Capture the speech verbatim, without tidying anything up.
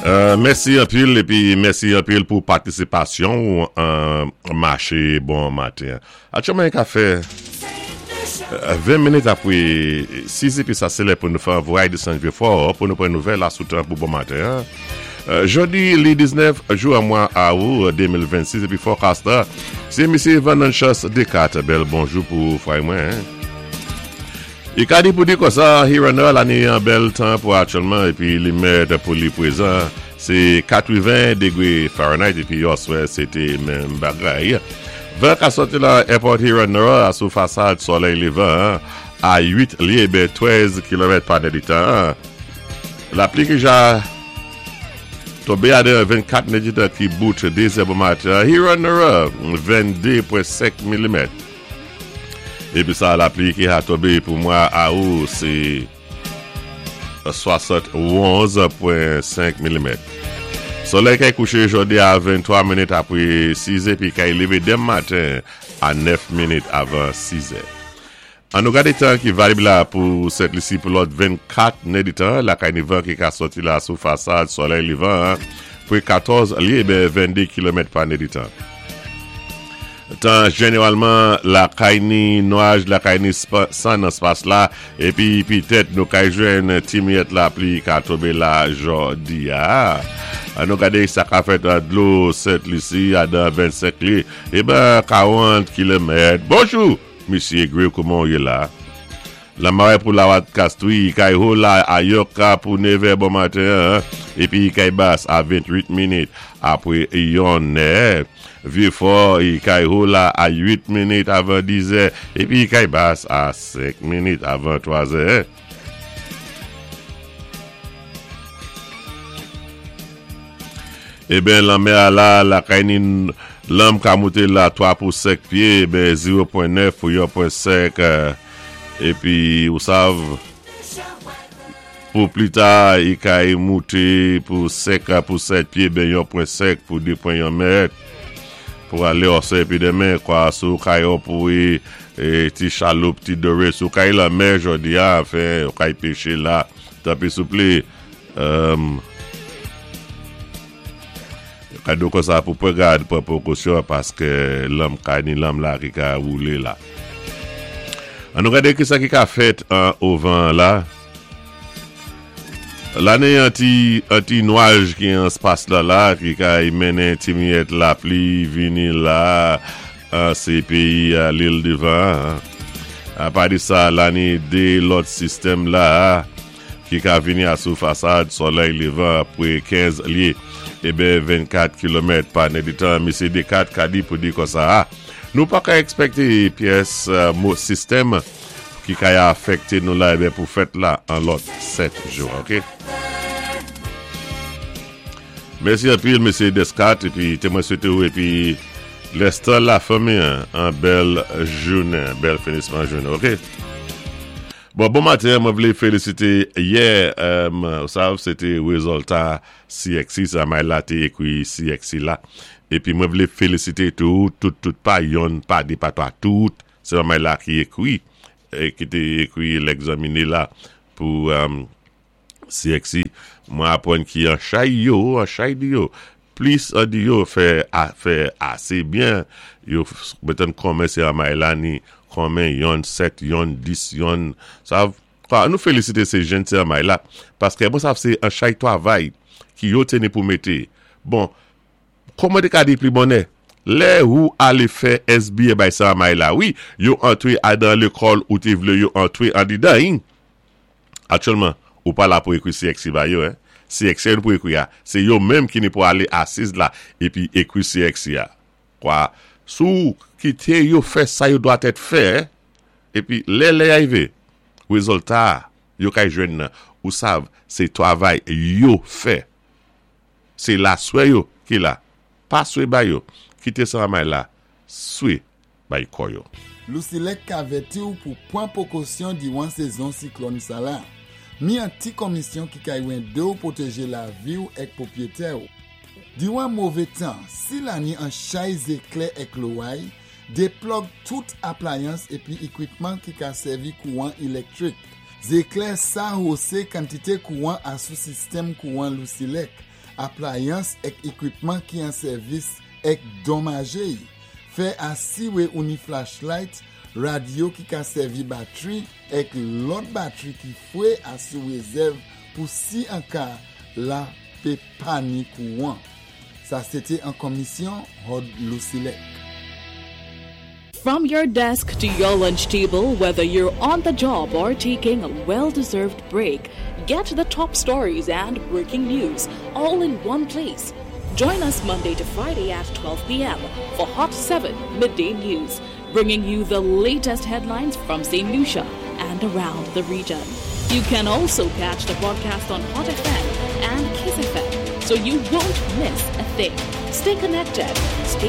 Euh, mèsi anpil épi mèsi anpil pou patisipasyon an maché bon maten. Aktyèlman ka fè ven minit apwé sis épi sa sé lè pou nou fè voyay désann Vieux-Fort pou nou pran nouvèl la sou tan pou bon maten. Euh, Jòdi li diznèf jou an mwa awou de mil vennsis épi forecast sé misyé Van Chas Decat. Bèl bonjou pou fway mwen. I ka di pou di konsa, Huron la ni an bèl tan pou aktyèlman épi li mèt pou li pwézan sé katreven dégwé Fahrenheit épi yèswè sé té menm bagay. Van ka sòti la Airport Huron a sou fasad solèy lévan a uit lyé ben trèz kilomèt pa nèditan. Lapli ki ja tonbé a de vennkat nèditan ki bout dé zè bon maten. Huron vennde pwen senk milimèt. Épi sa lapli ki a tonbé pou mwa awou sé swasant-onz pwen senk milimèt. Solèy kay kouché jòdi a venntwa minit apwé sis épi kay lévé denmen maten a nèf minit avan sis. An nou gadé tan ki valib la pou Sent Lisi pou lòt vennkat nèditan, lakay ni van ki ka sòti la sou fasad solèy lévan pou katòz lyé ben vennde kilomèt pa nèditan. Tan jénéwalman lakay ni nwaj, lakay ni san nan spas la épi pitèt nou kay jwenn ti miyèt lapli ka tonbé la jòdi a. An nou gadé sa ka fèt an dlo Sent Lisi a dan vennsenk lyé é ben karant kilomèt. Bonjou, misyé Gray, kouman yé la? Lamarè pou la wat Castries, kay ho la a Yoka pou nevè bon maten, épi kay bas a venntwit minit apwé yon nè. Vieux-Fort, kay ho la a uit minit avan diz, épi kay bas a senk minit avan twa. Eh ben, lanmè a la, lakay ni lanm ka mouté la twa pou senk pyé, ben zewo pwen nèf pou yon pwen senk, épi ou sav, pou pli ta, i kay mouté pou senk pou sèt pyé, ben yon pwen senk pou de pwen yon mèt. Pou alé òsè épi denmen, kwa sou kay ou pou e, ti chaloup, ti dore, sou kay lanmè jòdi a, anfen, ou kay péché la, tanpwi souplé, euh, kado kon sa pou pran gad, pran pwékosyon paské lanm kay ni lanm la ki ka woulé la. An nou gadé ki sa ki ka fèt an ovan la. La ni an ti, an ti nwaj ki an spas la la, ki ka mennen ti miyèt lapli vini la, an sé péyi L'Île du Vent. Apa di sa, la ni dé lòt sistèm la, ki ka vini a sou fasad solèy lévan pou kenz lyé é ben vennkat kilomèt pa nèditan. Misyé Decat ka di pou di kon sa, nou pa ka èkspèkté pyès mo sistèm ki ka afèkté nou la é ben pou fèt la an lòt sèt jou, ok? Mèsi anpil, misyé Descat, épi té mwen swété ou épi lèstan la fanmi an bèl jounen, bèl finisman jounen, ok? Bon, bon maten, mwen vlé félisité yè, euh, sav, sé té wézilta C X C, sa may la té ékwi C X C la. Épi mwen vlé félisité tout, tout, tout, pa yonn, pa dé, pa twa, tout, sé may la ki ékwi, ki té ékwi lègzaminé la pou euh, C X C. Mwen apwann ki an chay yo, an chay di yo, plis an di yo fè, a, fè asé byen, yo metan konmen sé an may la ni konmen yon sèt, yon dis, yon, sa, kwa, nou félisité sé jenn sé an may la, paské bon sa sé an chay twavay ki yo téni pou mété. Bon, kouman té ka di pli bonnè? Lè ou alé fè S B A bay sa an may la, wi, yo antwé a dan lékòl ou té vlé yo antwé an di dan. Aktyèlman, ou pa la pou ékwi C X C ba yo, hein? C X C nou pou ékwi a. Sé yo menm ki ni pou alé asiz la épi ékwi C X C a. Kwa, sou kité yo fè sa yo dwa tèt fè, épi lè lè arivé, wézilta yo kay jwenn nan, ou sav, sé twavay yo fè. Sé la swè yo ki la. Pa swé ba yo, kité sa may la, swé bay kò yo. Lusilek ka avèti ou pou pwan pwékosyon diwan sézon siklòn sa la. Mi an ti komisyon ki kay wende ou pwotéjé lavi ou èk pwopwiyétè ou. Diwan mové tan, si la ni an chay zéklè èk loway, déplòg tout aplayans épi ékwipman ki ka sèvi kouwan élektwik. Zéklè sa hosé kantité kouwan asou sistèm kouwan Lusilek. Aplayans èk ékwipman ki an sèvis èk donmajé. Fè asiwé ou ni flashlight, radyo ki ka sèvi batwi èk lòt batwi ki fwé asou rézèv pou si an ka la pé pa ni kouwan. Sa sé té an konmisyon Hod Lucilek. From your desk to your lunch table, whether you're on the job or taking a well deserved break, get the top stories and breaking news all in one place. Join us Monday to Friday at twelve p m for Hot seven Midday News, bringing you the latest headlines from Saint Lucia and around the region. You can also catch the broadcast on Hot F M and Kiss F M, so you won't miss a thing. Stay connected, stay